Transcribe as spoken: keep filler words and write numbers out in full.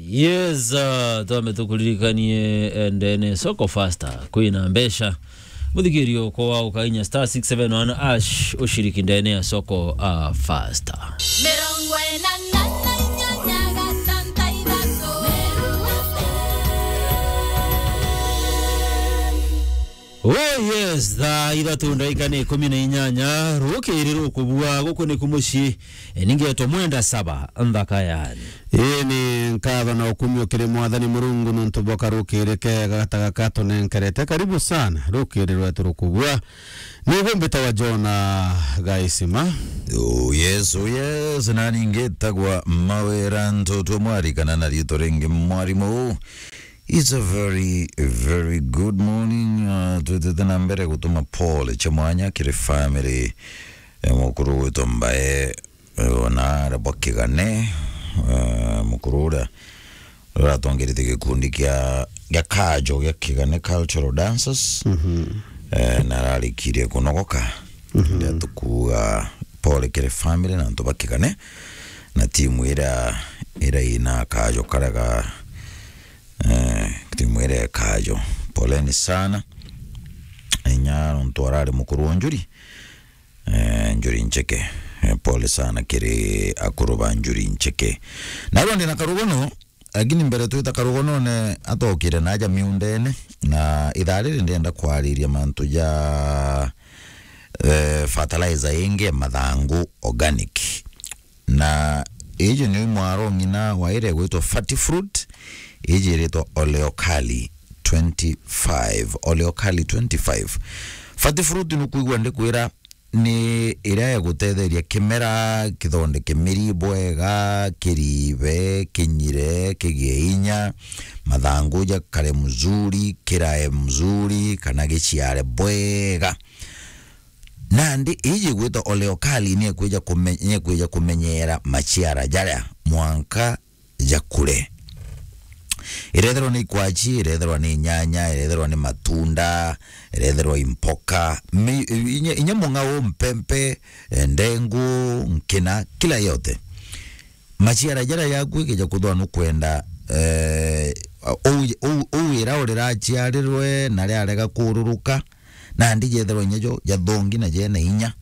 Yes, uh, twambe tukuririkanie, eh, ndene soko faster kwina mbeca. Muthikirio kwa ukainya star six seven one hash ushiriki ndene ya soko, uh, faster. Mirongo ina na inyanya gatanta ithatu. Oh yes, thaa ithatu ndaika ni ikumi na inyanya, rukiri rukubua guku ni kumuci. E, ningetwa Mwenda Saba, nthaka yani. Ii ni nkatho na ukumio kiri Mwathani Murungu nontu bwa karukiri kega gata gaka tunenkerete. Karibu sana, rukiri rwetu rukubua. Nigwe mbitawa Jona Gaisima. Oh yes, oh yes, nani ngitagwa Mawira Ntutu Mwari kana na riitwa ringi Mwarimu. It's a very, very good morning. Uh, twitite na mbere gutuma pole cia mwanya kiri family, eh, mukuru witwa Mbae, eh, ona aria bwa Kigane, eh, mukuru uria uratongerete gikundi kia, gia Kajo gia Kigane Cultural Dancers. Mhm. Eh, na ararikirie kunogoka. Mhm. Ndia tukuga pole kiri family na antu ba Kigane na timu iria, iria ina Kajo karia ga Eh, timu iria ya Kajo. Poleni sana. Inya nontu arari mukuru wa Njuri. Eh, Njuri Ncheke. Eh, pole sana kiri akuru ba Njuri Ncheke. Na rwa ndina karugono, lakini mbere twita karugonone atokire na aja miundene. Na ithaa riri ndenda kwariria mantu ja, eh, fertilizer ingi ya mathangu organic. Na iji ni mwaro ng'ina wa iria igwitwa Fati Fruit, iji iritwa Oleokali twenty-five, Oleokali twenty-five. Fati Fruit nukwigua ndikwira ni iria igutetheria kimera kithondeke miri bwega, kiribe, kinyire, kigie inya, mathangu jakare mzuri, kirae mzuri, kana giciare bwega. Nandi iji igwitwa Oleokali niekwija kume-, niekwija kumenyera maciara jaria mwanka jakure. Irethirwa ni ikwachi, irethirwa ni nyanya, irethirwa ni matunda, irethirwa i mpoka, mi-, inya, inya mung'ao, mpempe, eh, ndengu, nkina, kila yote. Maciara jaria jaku ikija kuthwa nukwenda, eh, ou, ou, ou ira uriraciarirwe na riarega kururuka, nandi jethirwa inya jo jathongi na jena inya.